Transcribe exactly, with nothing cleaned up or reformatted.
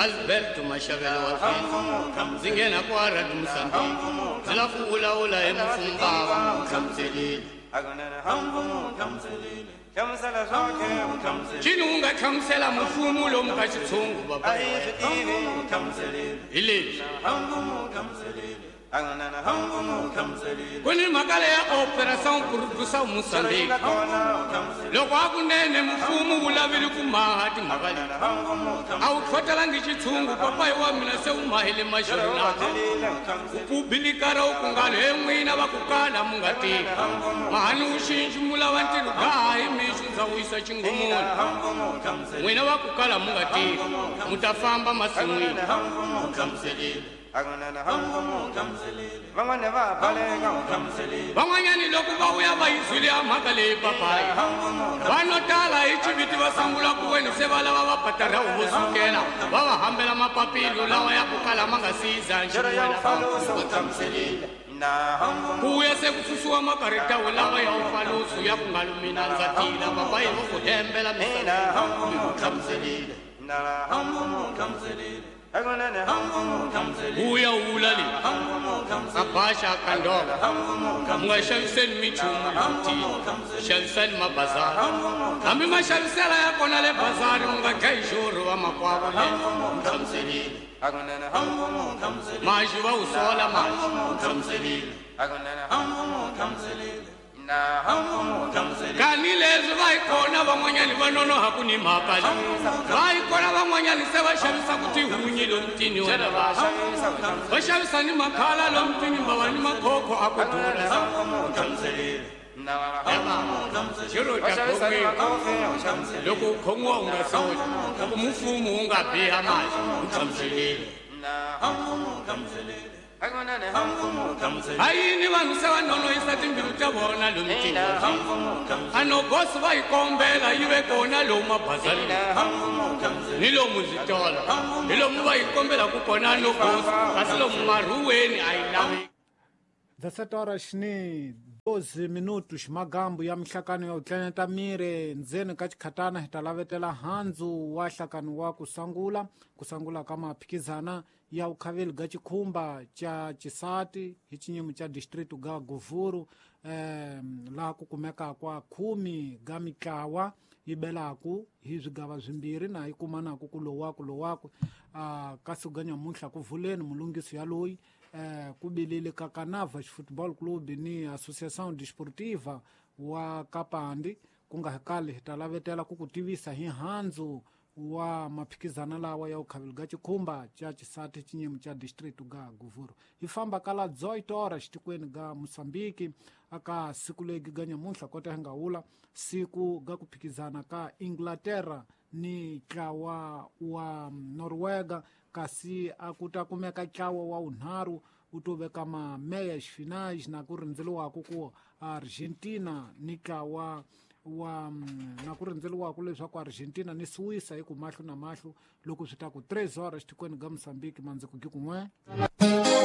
Alberto Mashavelo wa Fisa ndzi nghena ku aradi Mozambique ndzi lava ku vulavula hi mufumbava hlamuselile cini wu nga hlamusela mufumu lomu ka xitshungu baba hi leswi ku ni mhaka leya Operação Produção Moçambique loko a kunene mufumu wu lavile ku maha timhaka leti a wu tlhotelangi xitshungu papayi wa mina se wu mahile maxirina u pubilikara wu ku ngalo he n'wina va ku kala mu nga tivi mahani wu xinxi mu lava ntirho gaha hi mixo ndza wisa xingumuni n'wina va ku kala mu nga tivi mu ta famba masin'wini van'wanyani loko va vuya va yi zwile ya mhaka leyi papayi vanhu tala hi xiviti va sungula ku weni se va lava va patara vo sukela va va hambela mapapilo lawa ya ku kala ma nga siza ku vuya se ku susiwa makaritawu lawa ya ufalusu ya ku nga lumina ndza tila papayi vo ku hembela misava uya wula le a baxa kandova mu nga xaviseni minchumu lomutini xavisani mabazari hambi maxavisela ya kona le bazari mu nga dlayi xurhu va makwavo le maxi va wu sola maxi kani leswi va yi kona van'wanyani va nonoha ku ni mhaka leyi va yi kona van'wanyani se va xavisaku tihunyi lomutini wena va xavisa ni makhala lomutini mbava ni makhokho a ku dula xiro ta khomiwa loko u khomiwa u nga soli loko mufumu wu nga biha maxi u hlamuselile ha yini vanhu se va nonohisa timbilu ta vona lomutini a nogosi va yi kombela yi ve kona lomu mabazalini ni lomu zvitolo hi lomu va yi kombelaku kona nogosi kasi lomu marhuweni a yi lavi dezessete horas ni doze minutos magambu ya mihlakano ya utleneta mire ndzeni ka chikhatana hi ta lavetela handzu wa hlakano wa kusangula kusangula ka maphikizana ya ukhaveli ga chikhumba cha chisati hi chinyimo cha distrito ga Govuro eh, laha ku kumeka kwa khumi ga mitlawa yi belaku hi swigava swimbirhi na yi kumanaku ku lowaku lowaku ah, kasi ga nyamuntlha ku vuleni mulungiso ya loyi eh, ku bilile ka Kanavas Football Club ni Associação Desportiva wa Kapandi ku nga kali hi ta lavetela ku ku tivisa hi handzu wa maphikizana lawa ya ukhaveli ga chikhumba cha chisati chinyimo cha distrito ga Govuro hi famba kala dezoito horas tikweni ga Moçambique aka siku legi ga nyamuntlha kota hi nga wula siku ga ku phikizana ka Inglaterra ni ntlawa wa Noruega kasi a ku ta kumeka ntlawa wa unharhu wu to veka ma meias finais na ku rindzeliwaku ku Argentina ni ntlawa wa na ku rindzeliwaku leswaku Argentina ni Suíça hi ku mahlo na mahlo loko swi ta ku três horas tikweni ga Moçambique mandzi ku gi kun'we.